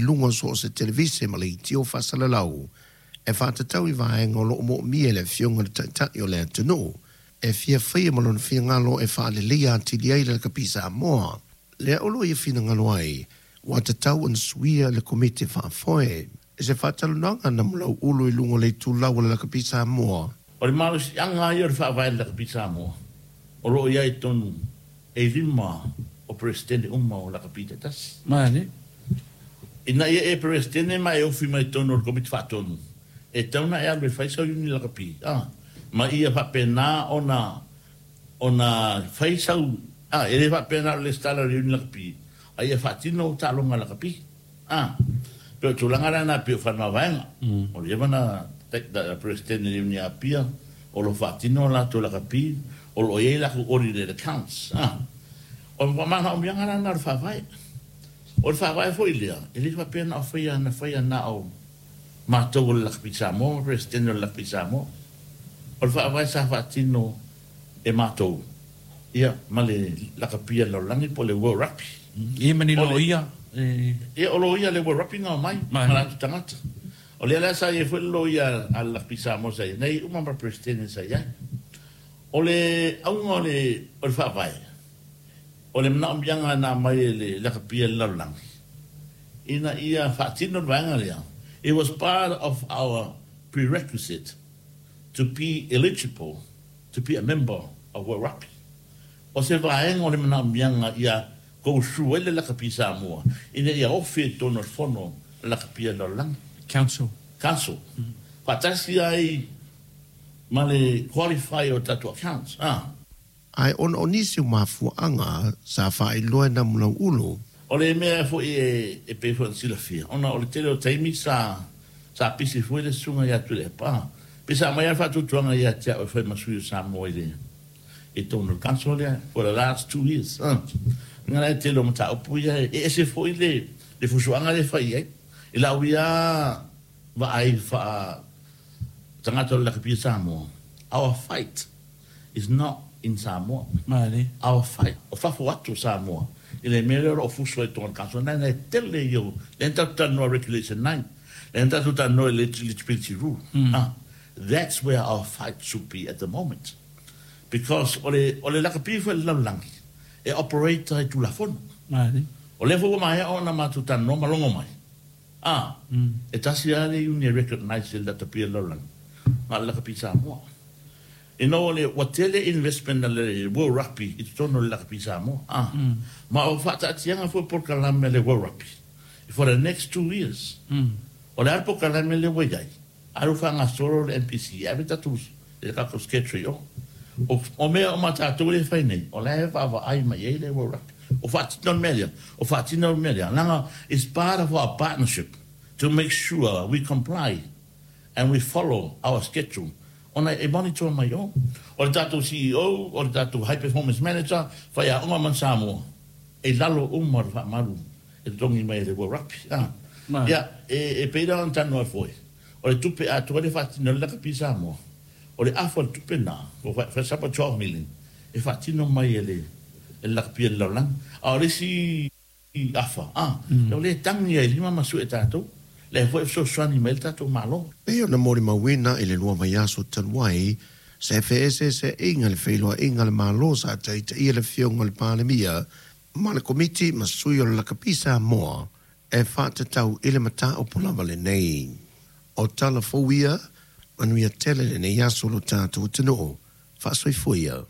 luga o so o se televise ma leitio faasalalau e faatatau i vaega o loo moomia e le Afioga i le Taitai o le atunuu e fia faia ma lona finagalo e faaleleia atili ai le Lakapi Samoa. Lea o loo ia finagalo ai ua tatau ona suia le Komiti Faafoe. I se faatalanoaga na Malauulu i luga o le itulau o le Lakapi Samoa. O le malosiaga lava ia o le faavae o le Lakapi Samoa o lo o i ai i totonu e lima o Peresetene uma o Lakapi taitasi. Ina ia e Peresetene ma e ofi mai totonu o le Komiti Faatonu, e tatau ona e alu e fai sau iuni lakapi, a, ma ia faapena ona, ona fai sau, a, e le faapea na o le lesitala o le iuni lakapi, a ia faatino ou taaloga lakapi, a. Pei o le tulaga la lena pei o Faleomavaega, o leva na Peresetene i le iuni a Apia, o lo o faatino a latou lakapi, o lo o i ai latou audited accounts, a. O le manaomiaga la lena o le Faavae. O le faavae foi lea, e le faapea na o faia na faia na o matou o le Lakapi Samoa ma Peresetene o le Lakapi Samoa. O le faavae sa faatino e matou, ia, ma le Lakapi a le Lalolagi po o le World Rugby. Ia ma ni loia e. Ia, o loia a le World Rugby na omai ma latou tagata. O lea la sa i ai foi le loia a le Lakapi Samoa sa i ai, na i ai uma ma Peresetene sa i ai. O le auga o le faavae, O le manaomiaga na aumai e le lakapi a le lalolagi ina ia faatino le vaega lea, it was part of our prerequisite to be eligible to be a member of World Rugby. O se vaega o le manaomiaga ia go through ai le lakapi Samoa ina ia ofi i totonu o le fono a lakapi a le lalolagi. Council. Council. Faatasi ai ma le qualify o tatou accounts. Ae ona o nisi o mafuaaga sa faailoa e Namulauulu. O le mea foi e pei foi ona silafia, ona o le tele o taimi sa sa pisi foi le susuga ia Tuilaepa. Pei sa aumai lava le faatuatuaga ia te au e fai ma sui o Samoa i le i totonu o le council lea for the last 2 years. Uiga la e tele o mataupu ia e ese foi le le fusuaga lea e fai i ai. I lau ia vaai faa tagata o le lakapi o Samoa, our fight is not in Samoa. Our fight, o fafo atu o Samoa i le mea lea o lo o fusu ai i totonu o le council lena e tele ia o lea na tatou talanoa Regulation 9, lea na tatou talanoa i le eligibility rule. That's where our fight should be at the moment. Because o le o le lakapi foi a le lalolagi e operate ai i Tulafono. O lea foi ua maea ona matou talanoa ma logo mai, e tasi lava le iuni e recognise e le lakapi a le lalolagi, na o le lakapi Samoa. Ina ua le, ua tele investment a le World Rugby i totonu o le Lakapi Samoa, a. Ma o faataatiaga foi o polokalame a le World Rugby for the next 2 years. O le a le polokalame lea ua i ai, alu faagasolo le NPC e ave tatou, le tatou schedule i o. O mea uma a tatou lea e fai nei, o la e vaavaai mai i ai le World Rugby. O faatino le mea lea, o faatino le mea lea, leaga it's part of our partnership to make sure we comply and we follow our schedule ona e monitor mai o. O le tatou CEO, o le tatou High Performance Manager, faiaoga ma Samoa, e lalo uma o le faamalu e totogi mai e le World Rugby. Ia, e pei la ona talanoa foi, o le tupe atoa lea e faatino ai le lakapi Samoa, o le afa o le tupe lena, for example 12 million, e faatino mai e le lakapi a le lalolagi. A o le isi afa, o lea e tagi ai lima ma sue tatou, lea foi e fesoasoani mai ai le tatou Malo. Pei ona molimauina i le 2 vaiaso talu ai, se feeseeseaiga i le feiloaiga a le Malo sa taitaia le Afioga i le Palemia ma le Komiti ma sui o le Lakapi Samoa e faatatau i le mataupu lava lenei. O tala fou ia, manuia tele lenei aso lo tatou atunuu. Faasoifua ia.